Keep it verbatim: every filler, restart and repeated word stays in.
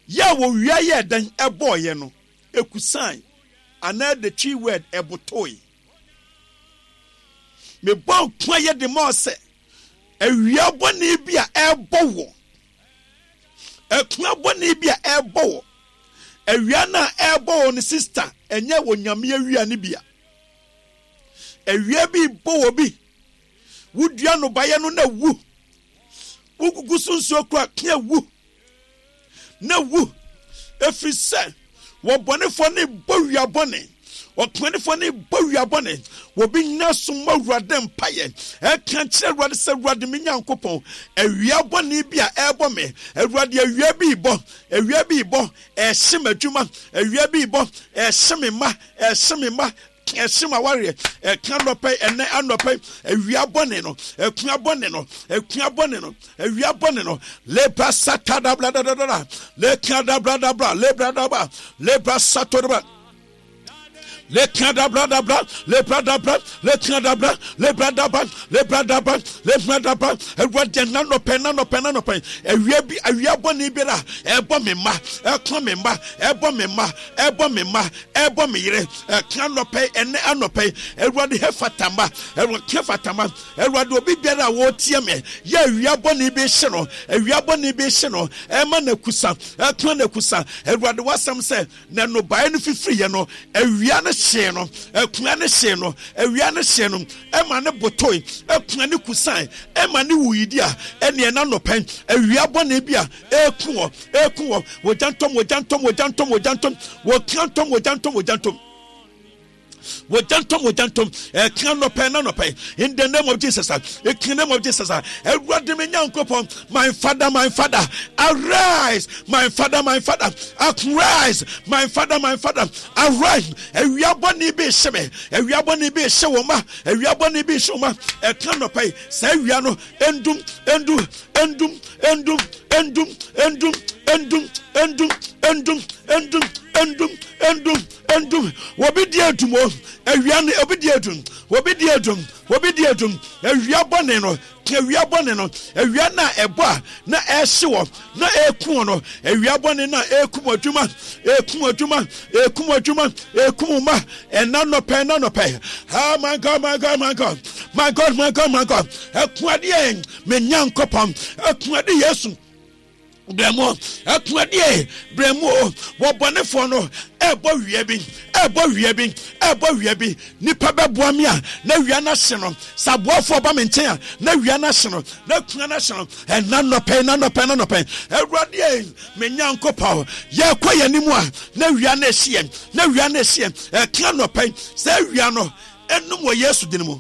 Yɛ a wɔwia yɛ dɛn ɛbɔɔyɛ no, ekusan anaa the Twi word ɛbotoe. Mebɔ nko ayɛ de ma sɛ awia bɔne bi a ɛrebɔ wɔ, akua bɔne bi a ɛrebɔ wɔ, awia no a ɛrebɔ wɔ no, sister, ɛnyɛ wɔ Nyame awia no bi a. Awia bi bɔ wɔ bi, wodua nnɔbaeɛ no na wu, wogugu so nsuo kora kea wu na wu, ɛfiri sɛ wɔbɔnefoɔ ne bɔ wia bɔne, ɔkwanefoɔ ne bɔ wia bɔne. Wɔbi nyina so ma Awurade mpayɛ ɛka kyerɛ Awurade sɛ, Awurade me Nyankopɔn, awia bɔne bi a ɛrebɔ me, Awurade, awia bi bɔ, awia bi bɔ, ɛhye m'adwuma, awia bi bɔ, ɛhye me mma, ɛhye me mma, ɛhye m'awareɛ. Ɛka nɔpɛ, ɛnɛ anɔpɛ, awia bɔne no, akua bɔne no, akua bɔne no, awia bɔne no, lebra satadabladadada lekadabladabla lebradaba lebra satodaba lekadabradabra lebradabra lekadabra lebradaba lebradaba lebradaba. Awurade, nanɔpɛ, nanɔpɛ, nanɔpɛ, awia bi, awia bɔne biara ɛbɔ me mma, ɛka me mma, ɛbɔ me mma, ɛbɔ me mma, ɛbɔ me yere, ɛka nɔpɛ, ɛnɛ anɔpɛ, Awurade, hefatama, Awurade, hefatama. Awurade, obi biara a wɔretie me yɛ awia bɔne bi hye no, awia bɔne bi hye no, ɛma n'akusa, ɛka n'akusa. Awurade, wasɛm sɛ na nnɔbaeɛ no fifiriiɛ no, awia no hyee no, akua no hyee no, awia no hyee no, ɛma ne botoe, akua ne kusan, ɛma ne wuyidi a ɛneɛ na nɔpɛn awia bɔne bi a ɛku wɔ, ɛku wɔ, wɔgya ntɔm, wɔgya ntɔm, wɔgya ntɔm, wɔgya ntɔm, wɔka ntɔm, wɔgya ntɔm, wɔgya ntɔm, wɔgya ntɔm, wɔgya ntɔm, ɛka nɔpɛ na nɔpɛ, in the name of Jesus, in the name of Jesus. Awurade me Nyankopɔn, my Father, my Father, arise, my Father, my Father, arise, my Father, my Father, arise. Awia bɔne bi hyɛ me, awia bɔne bi hyɛ wɔn ma, awia bɔne bi hyɛ wɔn ma, ɛka nɔpɛ, saa awia no endum, endum, endum, endum, endum, endum, endum, endum, endum, endum, endum, endum, endum. Wɔbi di edum o, awia no obi di edum, wɔbi di edum, wɔbi di edum, awia bɔne no, awia bɔne no, awia na ɛbɔ a na ɛhye wɔ na ɛku wɔ no, awia bɔne na ɛkum adwuma, ɛkum adwuma, ɛkum adwuma, ɛkum ma, ɛna nɔpɛ, ɛna nɔpɛ. Ah, my God, my God, my God, my God, my God, my God, ɛku adeɛ, me Nyankopɔn, ɛku ade, Yesu brɛmo, ɛko adeɛ, brɛmo. Wɔbɔnefoɔ no ɛbɔ wia bi, ɛbɔ wia bi, ɛbɔ wia bi, nipa bɛboa mi a na wia no ahye no, sɛ aboafoɔ ba me nkyɛn a na wia no ahye no, na kua no ahye no, ɛna nɔpɛ, ɛna nɔpɛ, ɛna nɔpɛ. Awurade me Nyankopɔn, yɛkɔ yɛn anim a na wia no ahye yɛn, na wia no ahye yɛn, ɛka nɔpɛ, sɛ wia no ɛnum wɔ Yesu din mu.